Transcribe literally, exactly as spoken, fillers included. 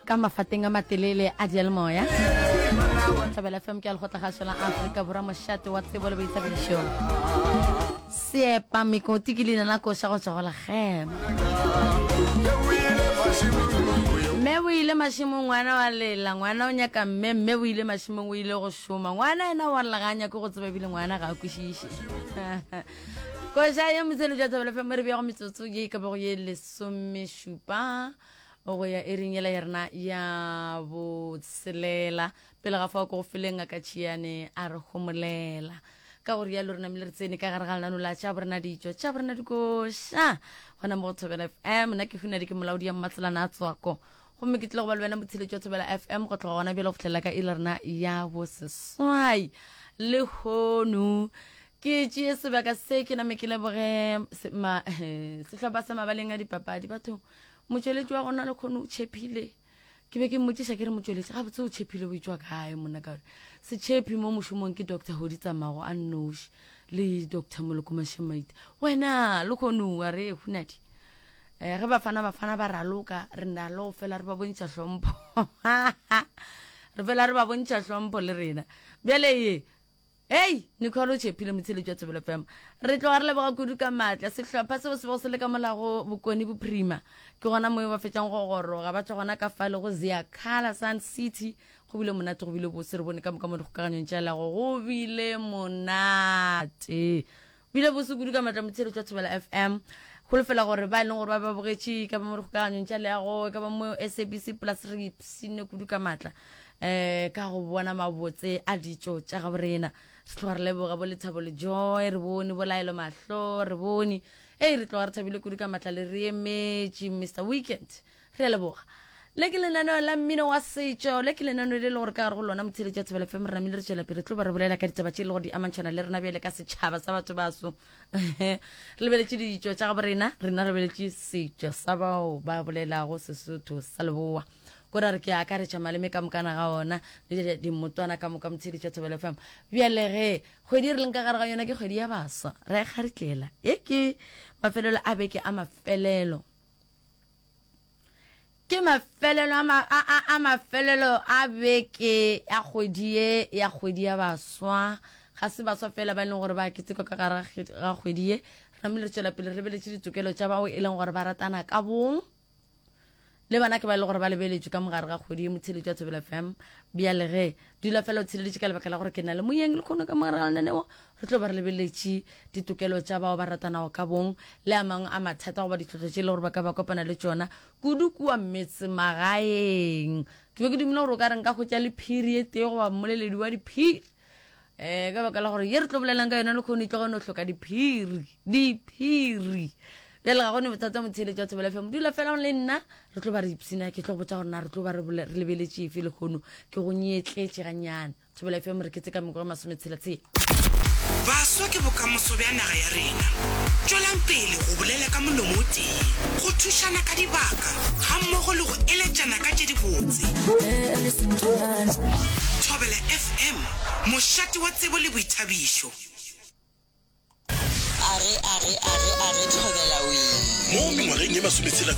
Ka mafateng a matelele a dialemoya Thobela F M ke a lekgotlagašo la Afrika Borwa, mošate wa tsebo le boithabišo. Seepa mekoti ke leina la koša go tšwa go Lekgema. Mme o ile mašemong, ngwana wa lela, ngwana o nyaka mme, mme o ile mašemong, o ile go šoma, ngwana yena wa lla, ga a nyake go tseba ebile ngwana ga a kwešiše. Koša ye motšheletšo wa Thobela F M re bea go metsotso ye e ka bago ye lesomešupa go ya iring yela ya rena ya botshelela. Pele ga fao ko go feleng ngaka Tšhiane a re homolela. Ka go rialo re namile re tsene ka gare ga lenano la tša borena ditšo tša borena dikoša gona mo go Thobela F M. Nna ke Hunadi, ke molaodi ya Mmatselana a Tswako, gomme ke tlile go ba le wena motsheletši wa Thobela F M go tloga gona bjale go fihlela ka iri rena ya boseswai. Lehono ke tšee sebaka se ke name ke leboge sehlopha sa mabaleng a dipapadi. Batho, motšweletši wa gona le kgone o tšhephile. Ke be ke mmotšiša ke re, motšweletši gabotse o tšhephile o itšwa kae monna? Ka gore setšhephi mo mošomong ke Doctor Hodi Tsamago a nnoši le Doctor Moloko Mashemaite. Wena le kgone wa re Hunadi, eh, ge bafana bafana ba raloka re na le go fela re ba bontšha hlompho. Re fela re ba bontšha hlompho le rena. Bjale ye Hei, Nicole o tšhephile motsheletši wa Thobela F M. Re tloga re leboga kudu ka maatla. Sehlopha seo se bego se le ka molago Bokone Bophirima. Ke gona mo ba fetšang go goroga. Ba tšwa gona ka fale go Ziakhala Sun City. Go bile monate, go bile bose, re bone ka moka mo dikgokaganyong tša leago. Go bile monate. Bile bose kudu ka maatla motsheletši wa Thobela F M. Holofela gore ba e leng gore ba ba bogetše ka ba mo dikgokaganyong tša leago, ka ba mo S A B C Plus, re ipshinne kudu ka maatla. Eh, ka go bona mabotse a ditšo tša gabo rena. Re tloga re leboga bo Lethabo le Joy, re bone bo Laelo Mahlo, re bone. Ei, re tloga re thabile kudu ka matla le re emetše Mister Weekend. Re a leboga. Le ke lenaneo la mmino wa setšo, le ke lenaneo le le gore ka gare go lona motheeletši wa Thobela F M re namile re tšwela pele, re tlo ba re bolela ka ditaba tše e le gore di amantšhana le rena bjale ka setšhaba sa batho baso. Re lebeletše ditšo tša gabo rena, rena re lebeletše setšo sa bao ba bolelago Sesotho sa Leboa. Ko ra re ke akaretša maleme ka mokana ga ona le dimmotwana ka moka motheeletši wa Thobela F M. Bjale ge kgwedi re leng ka gare ga yona ke kgwedi ya baswa, re a kgaritlela. E ke mafelelo a beke a mafelelo. Ke mafelelo a ma, a, a, a mafelelo a beke ya kgwedi ye ya kgwedi ya baswa. Ga se baswa fela ba e leng gore ba ketekwa ka gare ga kgwedi ye. Re namile re tšwela pele re lebeletše ditokelo tša bao e leng gore ba ratana ka bong. Le bana ke ba e leng gore ba lebeletšwe ka mogare ga kgwedi ye motheeletši wa Thobela F M. Bjale ge dula fela o tshireletše ka lebaka la gore ke na le moyeng le kgono ka mogare ga lenaneo, re tlo ba re lebeletše ditokelo tša bao ba ratanago ka bong le a mangwe a mathata goba ditlhohlo tše e le gore ba ka ba kopana le tšona kudu kua metsemagaeng. Ke be ke dumela gore o ka re nka hwetša le phiri e tee goba mmoleledi wa diphiri, eh, ka baka la gore ye re tlo bolelang ka yona le kgono e tloga no hloka diphiri, diphiri. Bjale ga gone bothata motheeletši wa Thobela F M, dula fela le nna, re tlo ba re ipshina. Ke tlo go botša gore na re tlo ba re re lebeletše efe lehono. Ke go nyetletše gannyane. Thobela F M re ketse ka mekgwa masometshela tshela. Baswa ke bokamoso bja naga ya rena. Tšwelang pele go bolela ka molomo o tee, go thušana ka dibaka gammogo le go eletšana ka tše dibotse. Thobela F M, mošate wa tsebo le boithabišo. Are, are, are, are, Thobela wee. Mo mengwageng ye masometshela-tshela